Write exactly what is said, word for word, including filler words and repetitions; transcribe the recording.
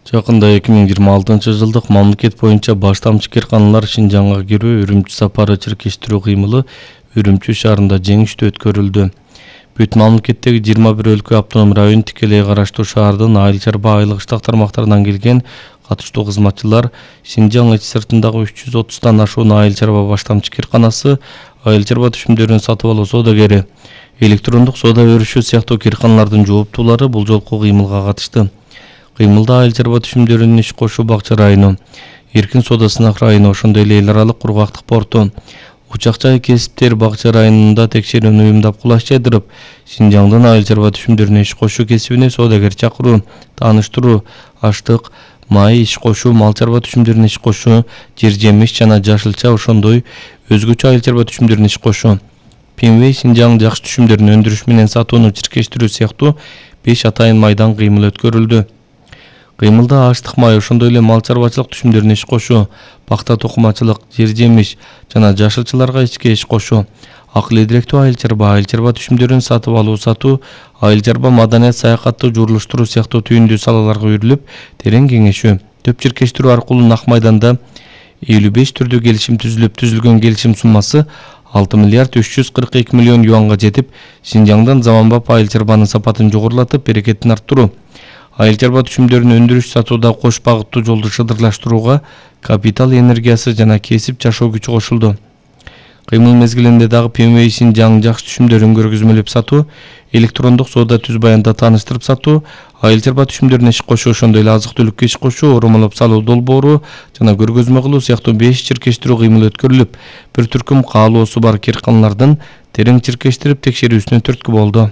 Жакында эки миң жыйырма алтынчы жылдык мамлекет боюнча баштамчы кыйрканалар Шинжаңга кирүү Үрүмчү сапары чиркештирүү кыймылы Үрүмчү шаарында жеңиштүү өткөрүлдү. Бүт мамлекеттеги жыйырма бир өлкө автоном район тикелей караштуу шаардын айыл чарба айлык иштак тармактарынан келген катыштуу кызматчылар Шинжаң ич сыртындагы үч жүз отуздан ашуун айыл чарба баштамчы кыйрканасы, айыл чарба түшүмдөрүн сатып алуу соодагери, электрондук соода өрүшү сыяктуу кыйрканалардын жооптуулары бул жолку кыймылга катышты. Кыймылда айыл чарба түшүмдөрүнүн иш кошуу Бакча району, Эркин соода сынак району, ошондой эле эл аралык кургактык порту, Учак-жай кесиптер Бакча районунда текшерүүнү уюмдап кулаш жайдырып, Шинжаңдын айыл чарба түшүмдөрүнө иш кошуу кесибине соодагер чакыруу, тааныштыруу, аштык, май иш кошуу, мал чарба түшүмдөрүнө иш кошуу, жер жемиш жана жашылча ошондой өзгөчө айыл чарба түшүмдөрүнө иш кошуу, Пенвей Шинжаң жакшы түшүмдөрүн өндүрүш менен сатууну чиркештирүү сыяктуу беш атайын майдан кыймыл өткөрүлдү. Кыймылда аштык май ошондой эле мал чарбачылык түшүмдөрүнө иш кошуу, пакта токумачылык, жер жемиш жана жашылчаларга ичке иш кошуу, акыл эдиректүү айыл чарба, айыл чарба түшүмдөрүн сатып алуу сатуу, айыл чарба маданият саякатты журулуштуруу сыяктуу түйүндүү салаларга үйрүлүп, терең кеңешүү, төп чиркештирүү аркылуу Нак майданда элүү беш түрдүү келишим түзүлүп, түзүлгөн келишим суммасы алты миллиард үч жүз кырк эки миллион юанга жетип, Шинжаңдын заманбап айыл чарбанын сапатын жогорулатып, берекетин арттыруу, айыл чарба түшүмдөрүн өндүрүш сатууда кош багыттуу жолду шыдырлаштырууга капитал энергиясы жана кесип жашоо күчү кошулду. Кыймыл мезгилинде дагы Пенвей Шинжаң жакшы түшүмдөрүн көргөзмөлөп сатуу, электрондук соода түз баянда тааныштырып сатуу, айыл чарба түшүмдөрүнө иш кошуу, ошондой эле азык түлүккө иш кошуу, оромолоп салуу долбоору жана көргөзмө кылуу сыяктуу беш чиркештирүү кыймыл өткөрүлүп, бир түркүм каалоосу бар кыйрканалардын терең чиркештирип текшерүүсүнө түрткү болду.